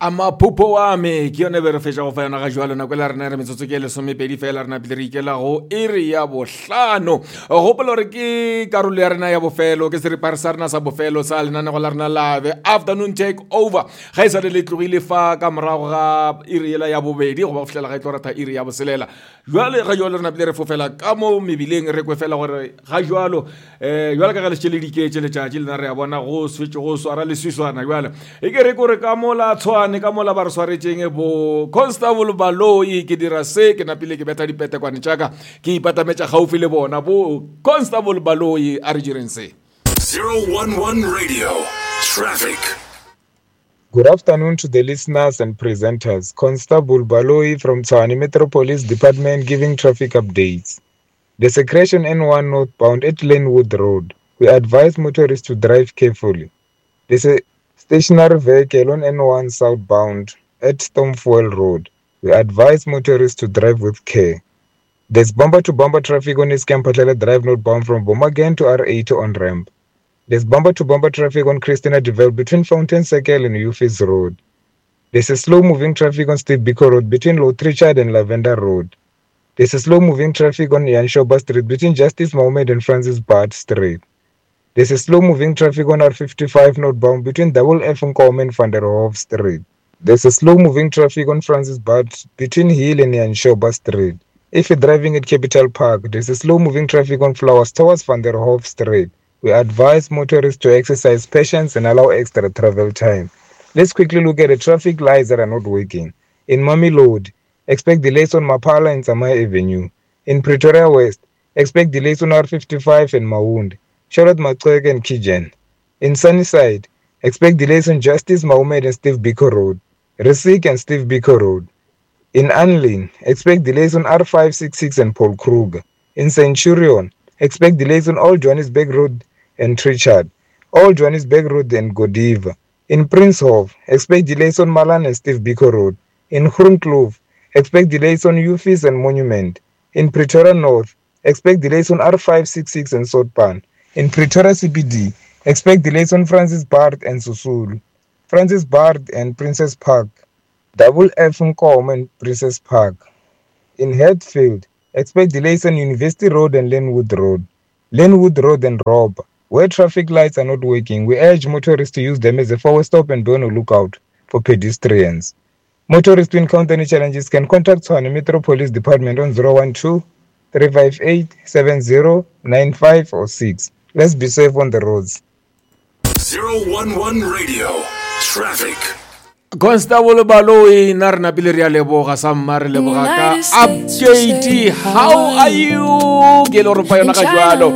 Amaphupho wa me ke yone be re fetša go fa yona ga jwalo nako e la rena re metsotso ke lesomepedi fela re napile re ikela go iri ya bohlano. Gopola gore ke karolo ya rena ya bofelo, ke seripare sa rena sa bofelo sa lenanego la rena la The Afternoon Take Over. Ga e sa le le tlogile fa ka morago ga iri yela ya bobedi goba go fihlela ga e tlo ratha iri ya boselela. Jwale ga jwalo re napile re fofela ka mo mebileng re kwe fela gore ga jwalo um jwale ka ge le šetše le diketše letšatši lena re a bona go swetše go swara leswiswana jwale e ke re kore ka mola tshwane ka mola ba re swaretšeng bo constable baloi ke dira se ke napile ke betha dipetekwane tša ka ke ipatametša gaufi le bona bo constable baloi a re direng se 011 Radio. Traffic. Good afternoon to the listeners and presenters. Constable Baloi from Tshwane Metro Police Department giving traffic updates. There's a crash on N1 northbound at Lenwood Road. We advise motorists to drive carefully. There's a stationary vehicle on N1 southbound at Stormfuel Road. We advise motorists to drive with care. There's bumper to bumper traffic on Iskampatlela Drive northbound from Bomagen to R8 on ramp. There's bumper to bumper traffic on Christina Develop between Fountain Circle and Ufis Road. There's a slow moving traffic on Steve Biko Road between Lord Richard and Lavender Road. There's a slow moving traffic on Yanshoba Street between Justice Mohammed and Francis Bart Street. There's a slow moving traffic on R55 northbound between Double F Nkomo and Van der Hof Street. There's a slow moving traffic on Francis Bart between Hill and Yanshoba Street. If you're driving at Capital Park, there's a slow moving traffic on Flowers towards Van der Hof Street. We advise motorists to exercise patience and allow extra travel time. Let's quickly look at the traffic lights that are not working. In Mamelodi, expect delays on Mapala and Samaya Avenue. In Pretoria West, expect delays on R55 and Maund, Charlotte Maxeke and Kijen. In Sunnyside, expect delays on Justice Mahomed and Steve Biko Road, Resik and Steve Biko Road. In Anlin, expect delays on R566 and Paul Kruger. In Centurion, expect delays on Old Johannesburg Road and Trichard, Old Johannesburg Road and Godiva. In Princehof, expect delays on Malan and Steve Biko Road. In Groenkloof, expect delays on Ufis and Monument. In Pretoria North, expect delays on R566 and Sotpan. In Pretoria CBD, expect delays on Francis Bart and Susulu, Francis Bart and Princess Park, Double F Nkomo and Princess Park. In Hatfield, expect delays on University Road and Lenwood Road, Lenwood Road and Rob. Where traffic lights are not working, we urge motorists to use them as a forward stop and be on the lookout for pedestrians. Motorists who encounter any challenges can contact Tshwane Metro Police Department on 012 358 7095 or 6. Let's be safe on the roads. 011 Radio. Traffic. Constable Baloi nna re napile re a leboga sa mma re leboga ka update how are you ke le gore fa yona ga jalo.